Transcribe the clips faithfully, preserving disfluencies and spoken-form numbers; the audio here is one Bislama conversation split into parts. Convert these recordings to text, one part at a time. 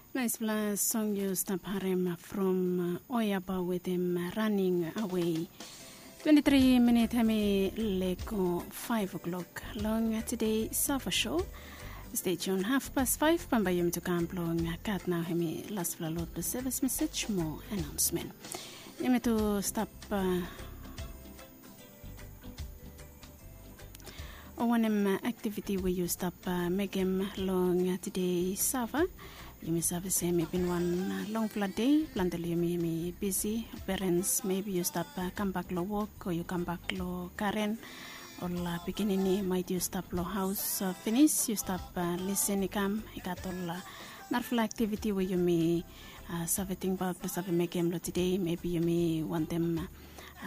Naispela song yu stap harim from Oyaba wetem Running Away. Twenti tri minit hemi leko faiv o'klok long tede Sava Show. Stay tuned, hafpas faiv bambae yumi tu kam blong gat nao hemi laspela lot blong sevis mesej mo anaonsmen. Yumi tu stap uh, o wanem aktiviti we yu stap uh, mekem long uh, tede Sava. Yumi save se hemi bin wan uh, longfala dei, plante long yumi hemi bisi. Perens, mebi yu stap uh, kambak long wok o yu kambak long karen. Ol uh, pikinini maet yu stap long haos uh, finis, yu stap uh, lisin i kam, i gat ol uh, narafala aktiviti we yumi uh, save tingbaot blong save mekem long tede. Mebi yumi wantem uh,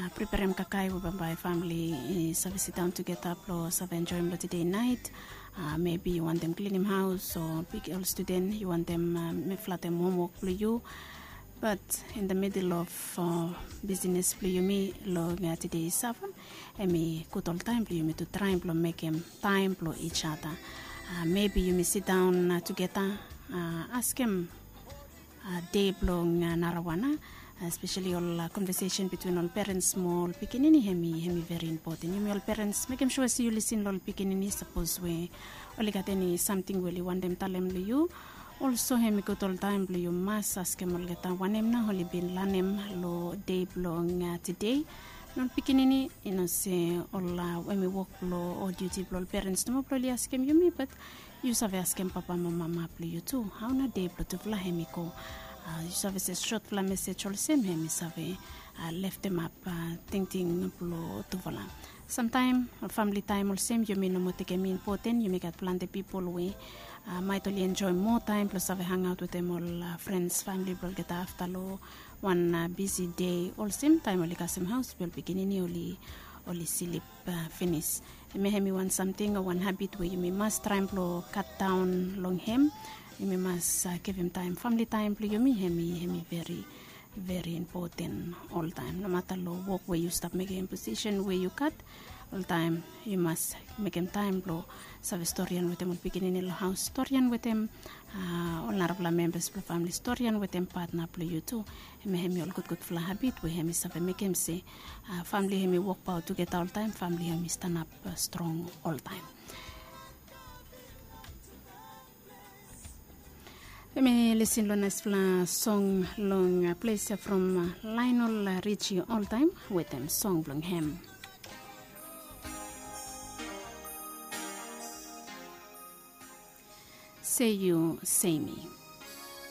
uh, preperem kakae we bambae famili i save sidaon tugeta blong save enjoem long tede nait. Uh, mebi yu wantem klinim haos o bik ol studen yu wantem uh, flatem homwok blong yu. But in the middle of uh, business blong yumi long uh, tede Sava, hemi gud oltaem blong yumi tu traem blong mekem taem blong each other. Uh, mebi yumi sidaon uh, tugeta uh, askem uh, dei blong uh, narawan, uh, especially ol uh, conversation between ol parents mo ol pikinini, hemi hemi very important. Yumi ol parents mekem sure se yu lisin long ol pikinini sapos we oli gat eni samting we oli wantem talem long yu. Also hemi gud oltaem blong yu mas askem olgeta wanem nao oli bin lanem long dei blong uh, tede. Ol pikinini i no se ol uh, hemi wok blong o duty blong ol parents nomo blong oli askem yumi, but yu save askem papa mo mama blong yu tu, hao nao dei blong tufala hemi go. Uh, yu save se sotfala mesej olsem hemi save uh, leftemap uh, tingting blong tufala. Samtaem famili taem olsem yumi no moa tekem impoten, yumi gat plante pipol we uh, maet oli enjoem moa taem blong save hangaot wetem ol uh, frens, famili blong olgeta afta long wan uh, bisi dei olsem taem oli kasem haos be ol pikinini oli oli slip uh, finis. Hemia hemi wan samting o wan habit we yumi mas traem blong katdaon long hem. Yumi mas uh, givim taem, famili taem blong yumi, hemi hemi veri veri impoten oltaem. Nomata long wok we yu stap mekem, posisen we yu gat, oltaem yu mas mekem taem blong save storian wetem ol pikinini long haos, storian wetem uh, ol narafala membas blong famili, storian wetem patna blong yu tu. Hemi hemi ol gudgudfala habit we hemi save mekem se uh, famili hemi wokbaot tugeta oltaem, famili hemi stanap uh, strong oltaem. Yumi lisin long naispela song long uh, ples ya from uh, Lionel Richie oltaem wetem song blong hem. Sei yu sei mi.